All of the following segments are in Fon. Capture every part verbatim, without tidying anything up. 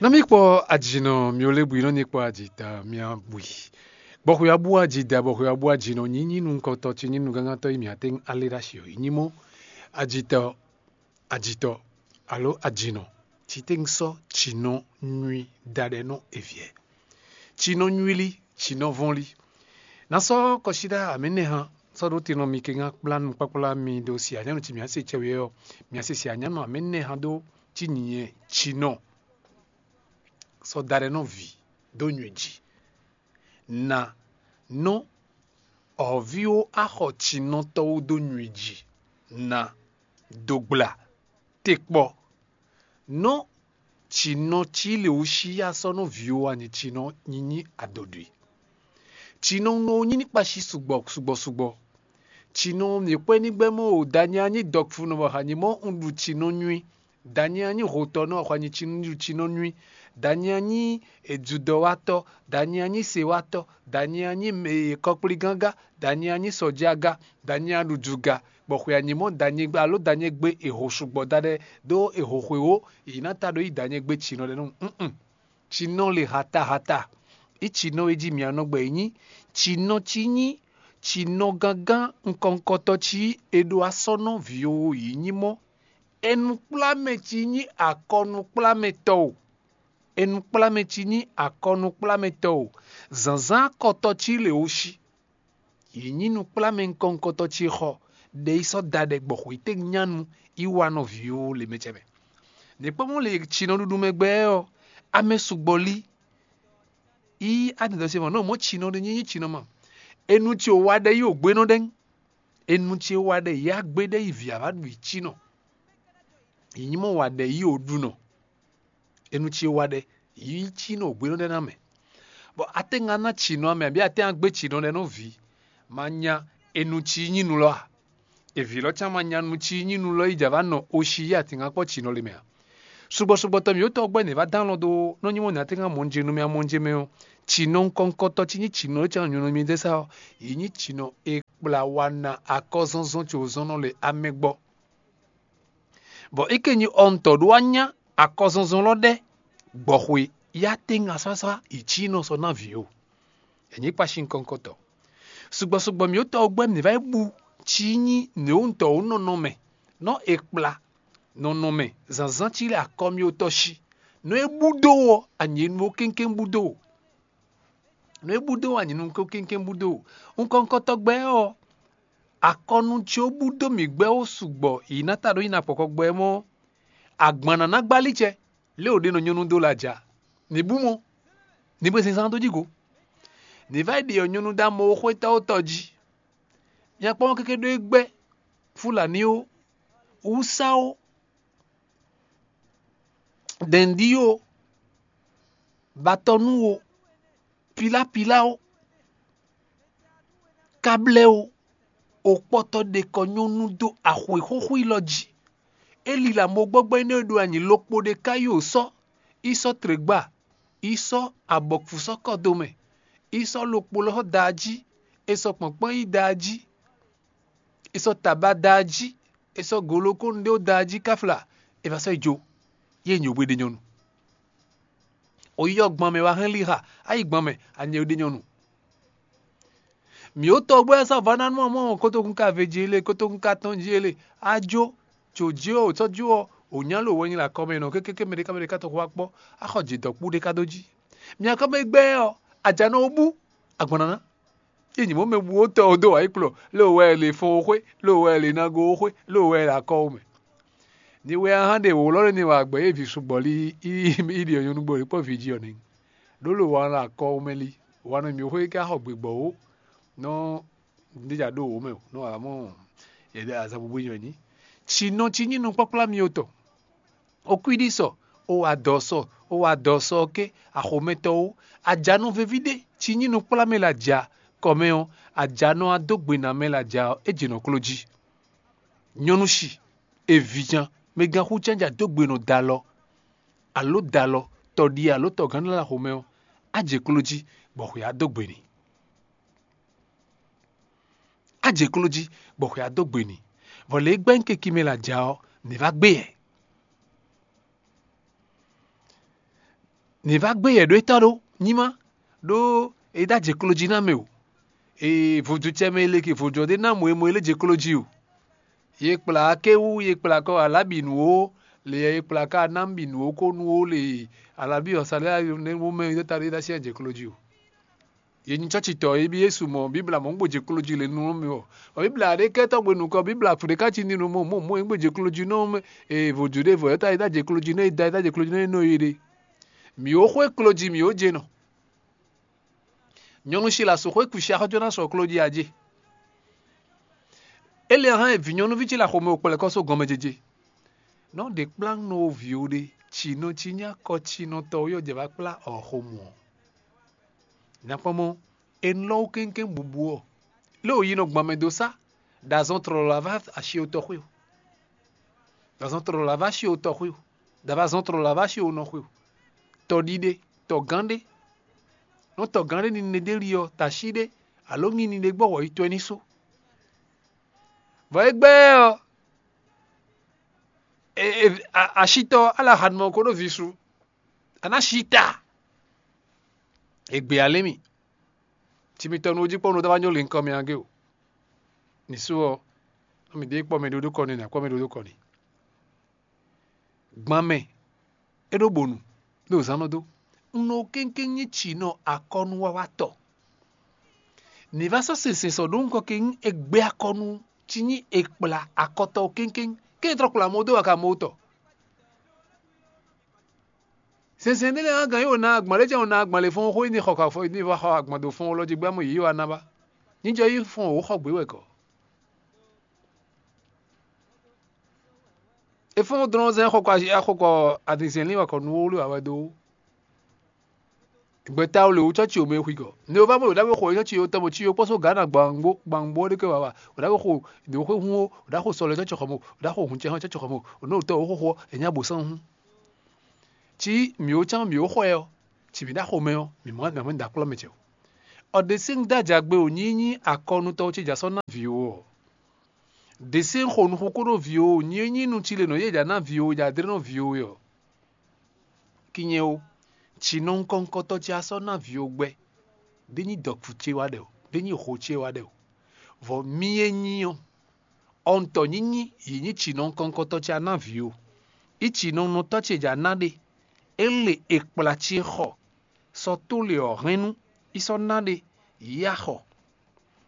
Nɔ mì kpɔ ajinɔ mi ole bwi nɔ nyi kpɔ aji ta mia bwi. Bɔ xwe abu aji da bɔ xwe abu ajinɔ nyi nyi nukɔntɔ ci nyi nugángantɔ yi mia tɛn ale ɖa shi yi nyi mɔ ajitɔ ajitɔ alo ajinɔ ci tɛn sɔ ci nɔ nyui da ɖɛ nɔ eviɛ. Ci nɔ nyui li ci nɔ vɔn li. Na sɔ kɔsida amɛ nɛ hã sɔ ɖo te nɔ mi ke ŋa kpla nu kpakpla mi ɖo si anyanu ci mia se cɛ wɛ ɔ mia se si anyanu amɛ nɛ hã ɖo ci nyinyɛ ci nɔ sɔ da ɖɛ nɔ vi ɖo nyui ji. Na nɔ ɔviwo axɔ cinɔtɔwo dó nyui ji. Na dogbla tekpɔ nɔ cinɔ ci le wú sí asɔ nɔ viwo anyi cinɔ nyinyi adodwi. Cinɔ nɔ nyí ní kpashi sugbɔ sugbɔ sugbɔ. Cinɔ mi kpɛ ní gbɛ mɔ o danyi anyi dɔkfu nɔ bɔ hanyi mɔ un ɖu cinɔ nyui. Danyi anyi hotɔ nɔ xwanyi cinɔ nyui. Danyi anyi edzudɔwatɔ. Danyi anyi sewatɔ. Danyi anyi kɔkpligángá. Danyi anyi sɔjaga. Danyi aɖujuga. Bɔ xwe anyimɔ danyi gbe alo danyi gbe eho sugbɔ da ɖɛ ɖó eho xwe wo yi ná ta ɖo yi danyi gbe cinɔ ɖɛ nɔ. Cinɔ le hatahata. Yi cinɔ e jí mia nɔ gbɛ yi nyí cinɔ ci nyí cinɔ gángan nkɔnkɔtɔ ci e ɖo asɔ́ nɔ vǐwo yi nyí mɔ́. Enukplámɛ ci nyí akɔnukplámɛtɔ́ o. Enukplámɛ ci nyí akɔnukplámɛtɔ́ o. Zǎnzán akɔtɔ ci le wo sí. Yi nyí nukplámɛ nkɔnkɔtɔ ci xɔ ɖe yi sɔ́ da ɖɛ gbɔ xwetɛ́ nyanu yi wa nɔ vǐwo le mɛ cɛ mɛ. Nǐkpɔ́mɔ le cinɔɖuɖu mɛ gbɛ ɔ́, amɛ sugbɔ lí. Yi adɛdɔ se mɔ nɔ mɔ cinɔ ɖe nyí cinɔ ma. Enu ci o wa ɖɛ yi o gbénɔ ɖɛ. Enu ce wa ɖɛ yi agbé ɖe yi vǐ ava ɖu yi cinɔ. Yi nyí mɔ wa ɖɛ yi o ɖu nɔ. Enu ce wa ɖɛ yi cinɔ o gbénɔ ɖɛ ná mɛ. Bɔ atɛ́nga ná cinɔ amɛ abí atɛ́nga gbé cinɔ ɖɛ nɔ vǐ. Ma nya enu ci nyí nu lɔ a? Evi lɔ can ma nya nu ci nyí nu lɔ yi java nɔ oshi yi atɛnga kpɔ cinɔ le mɛ a? Sugbɔ sugbɔ tɔ mi yótɔ gbɛ ne va dán lɔ do nɔ nyi mɔ ne atɛnga mɔnje nu mɛ amɔnje mɛ ɔ. Cinɔ nkɔnkɔtɔ ci nyí cinɔ e can nyɔnɔ mi dɛ sa ɔ. Yi nyí cinɔ e kpla wa na akɔzɔnzɔn tso zɔn nɔ le amɛ gbɔ. Bɔ é ké nyi ɔntɔ ɖó wá nya akɔzɔnzɔn lɔ ɖɛ gbɔxwe ya tɛ́nga sásá yi cí nɔ sɔ ná vǐ o. È nyǐ kpashi nukɔntɔ. Sugbɔ sugbɔ mǐ tɔ́ gbɛ́ mǐ va yi bu cí nyí nǔwúntɔ́ nɔnɔ mɛ nɔ è kpla nɔnɔ mɛ zǎnzán cí lɛ akɔ mì tɔ́ sí. Nɔ é bú dó ɔ́, anyě nu ó kéŋkéŋ bú dó o. Nɔ é bú dó anyě nu ó kéŋkéŋ bú dó o. Nukɔntɔ gbɛ ɔ́, akɔnu cí ó bú dó mǐ gbɛ ó sugbɔ yi ná ta ɖó yi ná kpɔkɔ gbɛ mɔ́. Agban ná ná gbálí cɛ lě o ɖe nɔ nyɔ́nu dó lɛ aja. Ní bú mɔ, ní bú zínzán dó jí go. Ní vɛ́ ɖi ɔ́ nyɔ́nu dó amɔ ó xwétɔ́ ó tɔ jí. Mia kpɔ́n kéké ɖó é gbɛ́ Fúlaní ó, Wúsá ó, Dɛ̌ndí ó, Batɔnú ó, Pilápilá ó, Káblɛ́ ó, òkpɔtɔ ɖe kɔ nyɔ́nu dó axwe xóxó élɔ́ jí. É lila mo gbɔ́gbɔ́ énɛ́ e ɖo anyǐ lokpo ɖé ká yi o sɔ́, yi sɔ́ trěgba, yi sɔ́ abɔkfu sɔ́ kɔ dó mɛ, yi sɔ́ lokpo lɔ́ da jí, è sɔ́ kpɔ̌nkpɔ́n yi da jí, è sɔ́ taba da jí, è sɔ́ golokónu ɖé da jí káfla, è va sɔ́ yi jó, yi e nyǐ we ɖe nyɔ́nu. Oyíyɔ gban mɛ wá hɛn lixa, ayi gban mɛ anyɛ ɖe nyɔ́nu. Mǐ ó tɔgbɛ́ ɔ́ sɔ́ vɔ́ ná nú ɔ́ mɔ kótókún ka ve jí ele kótókún ka tɔn jí ele. Á jó, jǒ jí ɔ́, ò sɔ́ jó ɔ́, ò nyá lo wɛ nyi le akɔ mɛ nɔ kékéké mɛ ɖé ká mɛ ɖé ká tɔn xó wá kpɔ́, á xɔ jǐ dɔ̌kpú ɖé ká dó jí. Mǐ akɔ mɛ gbɛ́ ɔ́, ajanɔ ó bú, agban ná ná. Ényí mɔ̌ mɛ bú ó tɔ ó dó wǎ yi kplɔ́, lé wɛ è lě fɔ́n ó xwé, lé wɛ è lě ná go ó xwé, lé wɛ è lě akɔ ó mɛ. Ni wɛ a hán ɖe wǒ lɔ́ ɖé ni wa gbɛ̌ yě vǐ sugbɔ́ lí í ɖi ɔ́ nyɔ́nu gbɔ lě kpɔ́ vǐ jí ɔ́ nɛ́. Ɖó lo wa lɔ akɔ ó mɛ lí, wa nɔ mǐ xwé ká xɔ gběgbɔ́ ó nɔ ɖéjà ɖó wǒ mɛ ó, nɔ wǎ mɔ yě ɖe azɔn búbú nyɔ ní. Tsi nɔ tsi nyí nukpɔ́kplá mi otɔn. Okwíɖísɔ, o wa dɔ̌ sɔ, o wa dɔ̌ sɔ ké axomɛtɔ́ ó. Ajanɔ veví ɖé tsi nyí nukplá mɛ lɛ aja kɔ mɛ ɔ́, ajanɔ a dó gbe ná mɛ lɛ aja ɔ́, é jɛ nɔ kló jí. Nyɔ́nu shi, evijan, mɛgán xú cánjà dó gbe nɔ dalɔ, alo dalɔ, tɔɖi alo tɔgán lɛ axomɛ ɔ́, á jɛ kló jí, bɔ xwe á dó gbe n'i. Á jɛ kló jí, bɔ xwe á dó gbe n'i. Vɔ lě e gbɛ́ nyí keki mɛ lɛ aja ɔ́, nǐ vá gbé yɛ. Nǐ vá gbé yɛ ɖó étɔ́ ɖó nyímá, ɖó é dá jɛ klo jí ná mɛ o. Ee, vodúntsɛ mɛ e le ke vodún ɔ́ ɖé ná mɔ e mɔ e lé jɛ klo jí o. Ye kplá akéwú, ye kplá kɔ alábǐnú ó, le ye kplá ká anábǐnú ó kó nú ó le alábí ɔ́ sa lɛ́ nɛ́ mɛ e ta ɖé ná syɛ́n jɛ klo jí o. Ye nyi cɔ́citɔ e bí Yésu mɔ Bíbla mɔ̌ gbɔn jɛ klo jí le nú mì ɔ́. Bɔ Bíbla ɖé kɛ tɔ́ gbe nukɔn Bíbla fǔ ɖé ká ci ní nú mɔ mɔ mɔ e gbɔn jɛ klo jí nɔ mɛ e vodún ɖé vɔ e ta e ta jɛ klo jí nɔ e da e ta jɛ klo jí nɔ e nɔ e ɖe. Mǐ ó xwé klo jí mǐ ó jɛ nɔ. Nyɔ̌nu Silási xwé kusi axɔ́ jó ná sɔ klo jí ajé. Éliahán e vǐ nyɔ̌nuví ce le axɔmɛ wokpɛlɛkɔ́ só gɔmɛjéjé. Nɔ ɖe kplá nɔ wo vǐ ó ɖe, ci nɔ ci nyí akɔ ci nɔ tɔ yɔ jɛ va kplá ɔxomɔ ɔ́. Nyakpɔ́mɔ, e nɔ lɔ wú kéŋkéŋ bubu ɔ́, lé wǒ yi nɔ gbɔn mɛ dó sá, ɖo azɔn tlɔlɔ la vá asi o tɔxwé o. Ɖo azɔn tlɔlɔ la vá asi o tɔxwé o. Ɖo azɔn tlɔlɔ la vá asi o nɔxwé o. Tɔɖiɖe, tɔgán ɖé. Nɔ tɔgán ɖé ni ne ɖé li ɔ́, tashi ɖé, alo ŋi ni ɖé gbɔ wɔ yi tɔn ní sú. Vɔ é gbɛ́ ɔ́, e, e, a- asitɔ ala hanumɔ ko ɖo vi su. A ná si ta. È gbě alé mì. Ci mitɔn nu jí kpɔ́n nu dó wá nyó linkɔ mì agé o. Nǐ sú ɔ́, nú mǐ ɖe kpɔ́ mɛ ɖó ɖó kɔ n'i, nǎ kpɔ́ mɛ ɖó ɖó kɔ n'i. Gban mɛ é ɖó bonu, ɖo zǎn nɔ dó. Un nɔ kéŋkéŋ nyí cinɔ akɔnuwawatɔ. Nǐ vá sɔ́ sɛnsɛn sɔ ɖó nukɔn ke nyí è gbé akɔnu cí nyí è kplá akɔtɔ kéŋkéŋ, kéŋ trɔ kplá mɔ dó waka mɔ tɔ. Sɛnsɛn ɖé lɛ́ɛ hán gǎn yí wǒ ná agban lɛ́ jɛ́n wǒ ná agban lě fɔ́n xó ní xɔ kɔ afɔ ní vɔ xɔ agban dó fɔ́n lɔ jí gbá mɔ yě wá ná ba. Ní jɔ yí fɔ́n wǒ xɔ gbě wɛ kɔ. É fɔ́n dlɔ́n zɛ́n xɔ kɔ axɔ kɔ adinzɛn lín wɛ kɔ nú wó lé wǎ wɛ dó. Gbɛta o lě wú cɔ́ci o mɛ xwigɔ. Ne o va mɔ ɖo ɖáwé xo cɔ́ci o tɔmɔ cí o kpɔ́ só Ghana gbangbo gbangbo ɖé ké wǎ wa. O ɖáwé xo ɖě xwe hun o, o ɖá xo sɔlɛ cɔ́ci xɔ mo, o ɖá xo hun cɛ hɔn cɔ́ci xɔ mo, o nɔ tɔ o xo xo ɛ nya bo sán hun. Cí mǐ ó cán mǐ ó xɔ ɛ ɔ́, cí mǐ ɖá xomɛ ɔ́, mǐ mɔ mǐ mɔ ɖa kplɔ́ mɛ ce o. Ɔ ɖe sín da jagbe o nyí nyí akɔnutɔ́ ce ja sɔ́ ná vǐ o ɔ́. Ɖe sín xo nuxu kó ɖo vǐ o nyí nyí nu ci le nɔ yé ja ná vǐ o ja dlé nɔ vǐ o ɔ́. Kinyɛ o, tsi nɔ ŋkɔŋkɔtɔ ce a sɔ́ ná vǐ o gbɛ, ɖé nyí dɔ̌kú ce wá ɖɛ o, ɖé nyí xo ce wá ɖɛ o. Vɔ mì e nyí ɔ́, ɔntɔ nyínyi yě nyí tsi nɔ ŋkɔŋkɔtɔ ce a ná vǐ o. Í tsi nɔ nɔtɔ́ ce ja ná ɖe, é le è kplá ce xɔ, sɔ tó le ɔ̌ hɛn nú, í sɔ́ ná ɖe, yě a xɔ,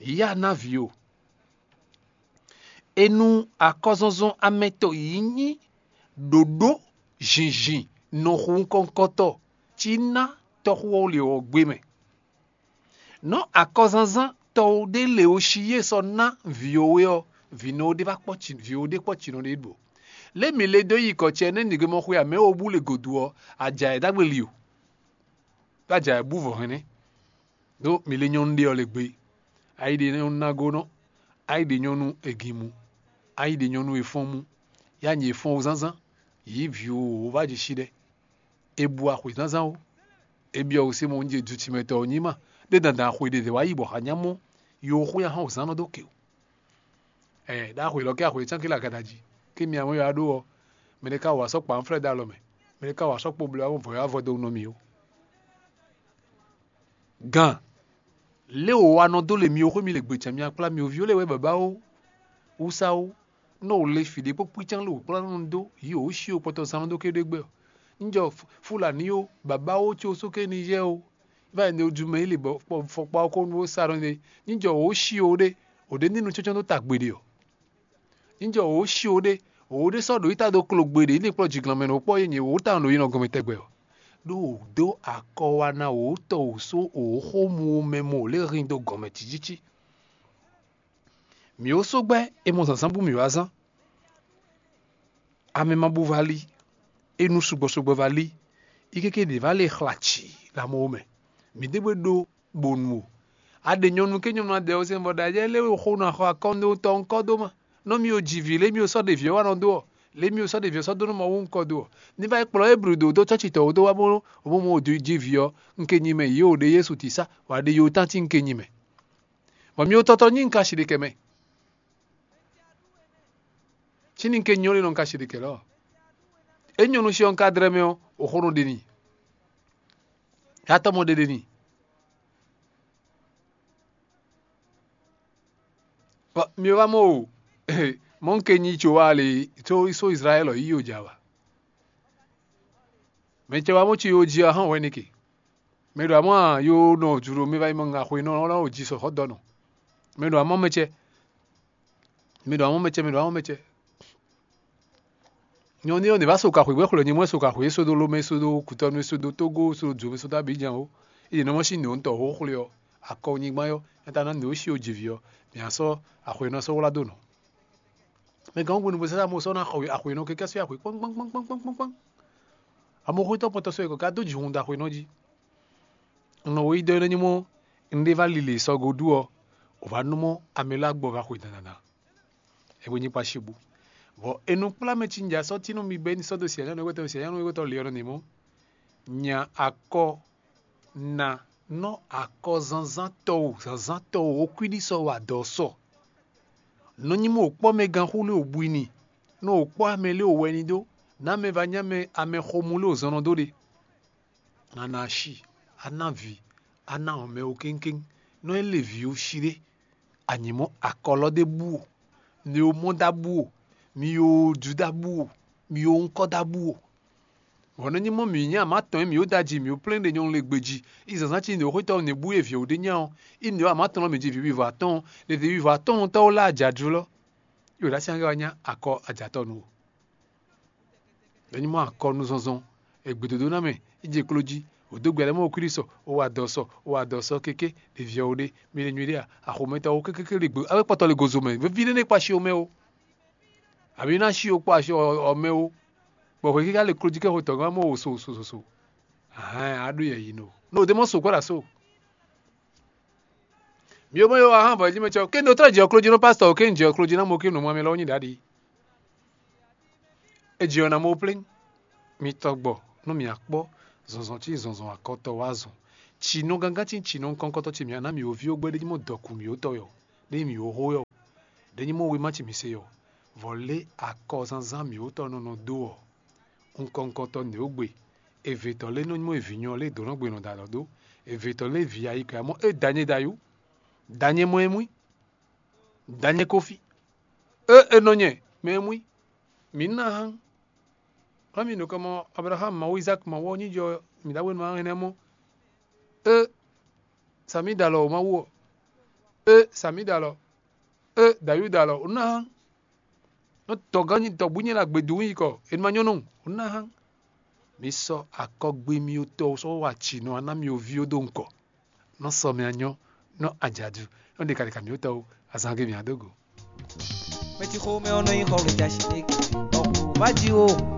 yě a ná vǐ o. E nu akɔzɔnzɔn amɛtɔn yí nyí ɖǒɖó zǐnzín nɔxu ŋkɔŋkɔtɔ cí ná tɔ́xú ɔ́ le ɔ́ gbé mɛ. Nɔ́ akɔzanzán tɔ́ ɖé le o cí yé sɔ́ ná vǐ o é ɔ́, vǐnɔ ɖé vá kpɔ́ vǐ o ɖé kpɔ́ cinɔ ɖé ɖo. Lě mǐ le dó yi kɔ ce nɛ́ nǐgomɔ xwe amɛ o bú le gǒdo ɔ́, aja ɛ ɖagbe li o. Bó aja ɛ bú vɔ hɛn nɛ́. Ɖó mǐ lé nyɔ́nu ɖé ɔ́ le gbé. Ayi ɖe nyɔ́nu nágónɔ, ayi ɖe nyɔ́nu eginmu, ayi ɖe nyɔ́nu efɔ́nmú, yá nyi efɔ́n zánzán, yǐ vǐ wǒ vá jǐ sí ɖɛ. È bu axwǐ zánzán ó. È byɔ́ wǔ sí mɔ oúnjẹ dutimɛtɔ́ ɔ́ nyí ma, ɖé dandan axwe ɖě wá yi bɔ xanyámɔ yi wǒ xwé ahán wǒ zán nɔ dó ke o. Ɛ ɖó axwe lɔ kɛ axwe cán ké le agadají, ké mi amɔ yɔ aɖó ɔ́, mɛ ɖé ka wǎ sɔ́ kpa nflɛ́ dó alɔ mɛ, mɛ ɖé ka wǎ sɔ́ kpo bló amɔ vɔ̌ yá vɔ dó nɔ mì ó. Gǎn, lě wǒ wa nɔ dó le mi ó xwé mi le gbecǎn mi akplá mi ó ví ó lě wɛ bǎbá ó, wúsá ó, nɔ wǒ le fǐ ɖé kpó kpícán lě wǒ kplá nɔ dó yǐ wǒ sí ó kpɔtɔ zán nɔ dó ké ɖé gbɛ ɔ́. Níjɔ Fúlaní ó, bǎbá ó có sóké Nizɛ́ɛ ó, vá yi ne ojú mɛ yí le bɔ fɔkpa ɔ́ kó nú ó sa nɔ ne, níjɔ wǒ sí ó ɖé, wǒ ɖé ní nu cɔ́cɔ́ dó ta gbeɖe ɔ́. Níjɔ wǒ sí ó ɖé, wǒ ɖé sɔ́ ɖo yí ta dó klo gbeɖe ní kplɔ́ jǐglɔ́nmɛ nɔ kpɔ́ yé nyɛ wǒ ta ɖo yi nɔ gɔmɛ tɛgbɛ ɔ́. Ɖó wǒ dó akɔ wá ná wǒ tɔ wǒ só wǒ xó mu mɛ mɔ wǒ lé hín dó gɔmɛ cícící. Mǐ ó só gbɛ́ è mɔ zǎnzǎn bú mǐ wá zán. Amɛ ma bú va lí, é nú sugbɔ sugbɔ va lí, yi kéké ɖě va lé xla cǐ ɖo amɔ mɛ. Mǐ ɖé bó ɖó bonu o. A ɖe nyɔ̌nu ké nyɔ̌nu a ɖɛ ɔ́ sɛn bɔ ɖo ayɛ lé xo nɔ axɔ akɔ́ndótɔ́ ŋkɔ́ dó ma. Nɔ mì o ji vǐ lé mì o sɔ́ ɖe vǐ ɔ́ wá nɔ dó ɔ́, lě mì o sɔ́ ɖe vǐ ɔ́ sɔ́ dó nú Mawu ŋkɔ́ dó ɔ́, ní vá yi kplɔ́ Eblu ɖo dó cɔ́ci tɔn wú dó wá bó bó mɔ o ji vǐ ɔ́, un ke nyi mɛ yě o ɖe Yésu tisa, wǎ ɖe yě o tán cí un ke nyi mɛ. Bɔ mì o tɔtɔ nyí un ka si ɖe kɛ mɛ. Cí ní un ke nyɔ́ lé nɔ un ka si ɖe kɛ lɔ. É nyɔ́ nú xyɔ́ un ka dlɛ́ mɛ ɔ́, o xó nɔ ɖe n'i. Yatɔ́ mɔ ɖeɖe ni. Bɔ mi wá mɔ o, mɔ̌ un ke nyi tso wá le, tso só Izlayɛ́li yí o jǎ wa. Mɛ ce wá mɔ ci yo jí ɔ́ hán wɛ n'i ke. Mɛ ɖo amɔ́ a yo nɔ jǔɖo mɛ va yi mɔ ŋa xwe nɔ ɔ́ ná o jí sɔ xɔ dɔ nɔ. Mɛ ɖo amɔ́ mɛ cɛ. Mɛ ɖo amɔ́ mɛ cɛ, mɛ ɖo amɔ́ mɛ cɛ. Nyɔ̌nu ɔ́, nǐ vá so ka xwǐ bɔ é xwlɛ́ nyɛ mɔ é so ka xwǐ, é sódó Lomɛ, é sódó Kutɔnu, é sódó Tógó, é sódó Dzomi, é sódó Abidjan ó. É ɖě nɔ mɔ sín nǔ ɔ́ tɔn xó xwlé ɔ́, akɔ nyigban ɔ́, é ta ná nǔ e ó xi ó jǐ vǐ ɔ́, mǐ ná sɔ́ axwe ɔ́ ná sɔ́ wlá dó nɔ. Mɛ gǎn gúdo bó sɛ́ mɔ sɔ́ ná xɔ axwe nɔ kɛ́kɛ́ sɔ́ axwe kpɔ́nkpɔ́nkpɔ́nkpɔ́nkpɔ́nkpɔ́n. Amɔxwétɔ́ kpɔ́ntɔ́ sɔ́ yě kɔ ka dó jǐ hun dó axwe nɔ jí. Un nɔ weyídɔ é nɔ nyí mɔ un ɖé vá lile sɔgbe ɖu ɔ́, wǒ vá nú mɔ amɛ lɛ́ɛ gbɔ va xwe dandandan. É ko nyí kpácíbú. Vɔ è nɔ kplá mɛ cinja sɔ́ tínú mi bɔ é ní sɔ́ dó sianyánu égbétɔ́ sianyánu égbétɔ́ le ɔ́ nɔ nǐ mɔ. Nya akɔ na nɔ akɔ zǎnzǎn tɔn o zǎnzǎn tɔn o okwíɖí sɔ wa dɔ̌ sɔ. Nɔ nyí mɔ wǒ kpɔ́ mɛ gán xú lé wǒ bú i ni, nɔ wǒ kpɔ́ amɛ lé wǒ wɛ ni dó, nǎ mɛ va nyí amɛ amɛ xomú lé wǒ zɔn nɔ dó ɖe. A nǎ ná asi, a nǎ vǐ, a nǎ wɔn mɛ ó kéŋkéŋ, nɔ é lé vǐ ó sí ɖé. A nyǐ mɔ akɔlɔ ɖé bú o, mi ó mɔ ɖá bú o, mi ó ju ɖá bú o, mi ó ŋkɔ ɖá bú o. Vɔ nɔ nyí mɔ mǐ nyí amǎ tɔn e mǐ ó ɖ'ajǐ mǐ ó plɛ́n ɖe nyɔ̌nu lě gbe jí, yi zǎnzǎn cí nǔ xwétɔ́ nǔ bú e vǐ ó ɖe nya ɔ́, yi nǔ amǎ tɔn lɔ mǐ jí vǐ wivɔ atɔ́ɔ́n, ɖe vǐ wivɔ atɔ́ɔ́n tɔ́ ó lá ajǎ jlɔ́, yi wǒ ɖo así angé wá nya akɔ ajǎtɔ́ nu o. Ɖɔ nyí mɔ akɔnuzɔnzɔn, egbedodo ná mɛ, yi je klo jí, wǒ dó gbɛ lɛ́ mɔ wokúɖi sɔ, wó wa dɔ sɔ, wó wa dɔ sɔ kéké, ɖevi ɔ́ wó ɖe, mi ɖe nyuɖé a, axɔmɛtɔ́ wó kékéké ɖe gbe, awé kpɔtɔ le gozo mɛ, veví ɖé ní kpa asi o mɛ o. Àbí ná sí o kpɔ asi ɔ mɛ o. Bɔ hwɛ kíká le klójí kɛ xotɔ̌ gán mɔ o so so so so. Ahán a ɖó yɛ yi no. No de mɔ so kɔ ɖa so. Mi o mɔ yo ahán bɔ jí mɛ cɛ o. Ké no trɔ jɛ klójí nɔ pastɔ o ké jɛ klójí ná mo ké no mɔ mi lɔ nyi ɖaɖi. E jɛ ɔ na mo plé. Mi tɔgbɔ nú mi akpɔ zɔnzɔn cí zɔnzɔn akɔtɔ wá zɔn. Tsi nɔ gángan cí tsi nɔ kɔnkɔtɔ cí mi aná mi o vi o gbɛ ɖe mɔ dɔkun mi o tɔ yɔ. Ɖe mi o xó yɔ. Ɖe nyí mɔ wema ci mi se yɔ. Vɔ lé akɔzánzán mǐ wótɔ́ nɔ nɔ dó ɔ́, nukɔn nukɔntɔn nǔ e ó gbe. Èvètɔ́ lé nɔ nyí mɔ èvǐnyɔ lé dǒ nɔ gbe nɔ da alɔ dó. Èvètɔ́ lé vǐ ayikɔ ya mɔ é danyɛ dayú. Danyɛ mɔ é mú. Danyɛ kófí. É é nɔ nyɛ mɛ é mú. Mǐ ná hán. Hɔn mi nukɔn mɔ Abraham ma wɔ Isaac ma wɔ nyí jɔ mi da wenu hán énɛ́ mɔ. É sami da alɔ o ma wɔ. É sami da alɔ. É dayú da alɔ o ná hán. Nɔ tɔgán nyi tɔgbú nyɛ la gbedu yi kɔ, e ma nyɔ́ nɔ o ná hán. Mi sɔ akɔgbe mi o tɔ sɔ wa ci nɔ ana mi o vi o do nkɔ. Nɔ sɔ mi anyɔ, nɔ ajadu, nɔ ɖe kaɖeka mi o tɔ o, azan ge mi adógo. Mɛ ci xomɛ ɔ́ nɔ nyi xɔ wějashi ɖé. Ɔku wá jí o.